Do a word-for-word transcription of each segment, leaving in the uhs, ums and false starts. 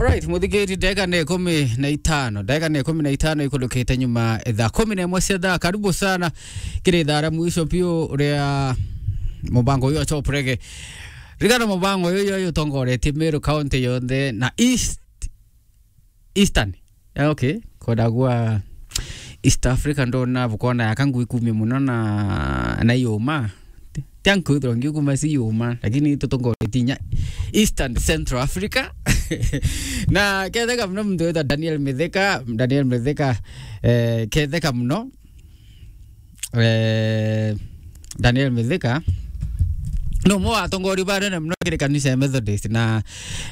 Alright, muthikiri, ndagika ni ikumi na itano. Ndagika ni ikumi na itano ikurukite nyuma thaa kumi na imwe cia thaa. Karibu sana kiri thaa ria mwisho biu ria mubango uyu wa Top Reggae. Ririkana mubango uyu uyu utongoretie Meru County yonthe na East, Eastern. Ah, okay. Kwenda gwa East Africa ndona bukona yaka ngui kumia muno na, na yuma. Tia nkwithirwa ngiukuma si yuma, lakini tutongoretie inya Eastern Central Africa. Na ketheka muno muntu witwa Daniel Mithika, Daniel Mithika, eh, ketheka muno. Eh, Daniel Mithika, no umwe wa atongoria banene muno kiri kanisa ya Methodist, na,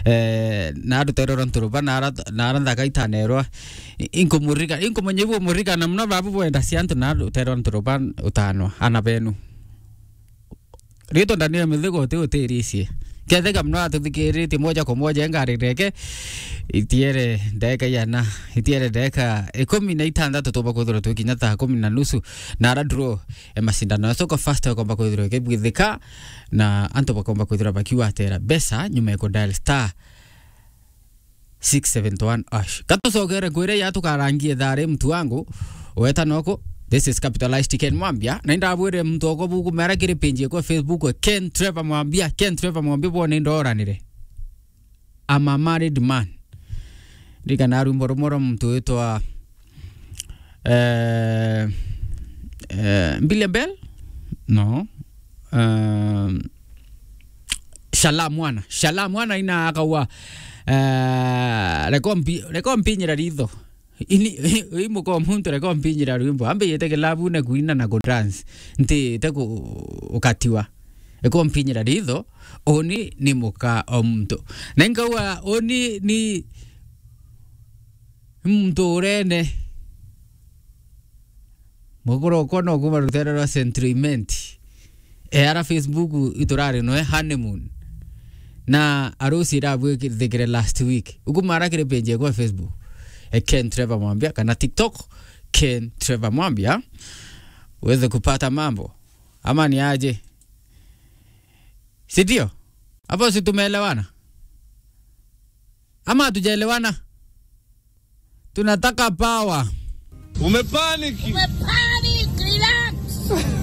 eh, na aruterwa nturuba, na ara-, na ara nthaka itanerwa. I-, inkumurika-, inkumenya ibu murika na muno babu bwenda cia antu na aruterwa nturuba utanwa, ana benu. Ritwa Daniel Mithika uti utiricie. Ketheka muno atuthikiritie moja kwa moja, engarire ke, itiere ndeka yana, itiere ndeka ikumi na itandatu tuba kwithirwa twikinya thaa kumi na nusu, na ara draw e macindano ya Soko Fast akomba kwithirwa ikibwithika, na antu bakomba kwithirwa bakiwatera mbeca nyuma ya ku dial star six seventy one hash. Katucokere kwire ya tukarangie thari mtu wangu, weta noko. This is Capitalized Ken Mwambia. Na indabwire mtu oko buku mera kiri page kwa Facebook, Ken Trevor Mwambia, Ken Trevor Mwambia, bone ndoranire. I'm a married man. Ndikana rwimbo rumwe rwa muntu witwa, eh, eh, Billy Bell? No. Eh, Shala Mwana. Shala Mwana ina akaua, eh, reko mpi-, reko mpinyira ritho. Ini, i muko muntu reko mpinyira rwimbo. Ambe yete kilabu na kuina na ku dance. Nti te ku-, ukatiwa. Reko mpinyira ritho. Uni ni muka o muntu. Na nkauga uni ni muntu urene. Mukuru okwa no kuma rutere rwa Central Imenti. E ara Facebook iturari noe honeymoon. Na arusi irabwithikire last week. Ukumara kiri page yakwa Facebook. E Ken Trevor Mwambia kana TikTok Ken Trevor Mwambia. Uweze kupata mambo. Ama ni aje? Si ndio? Hapo si tumeelewana? Ama hatujaelewana? Tunataka power. Umepaniki. Umepaniki, relax.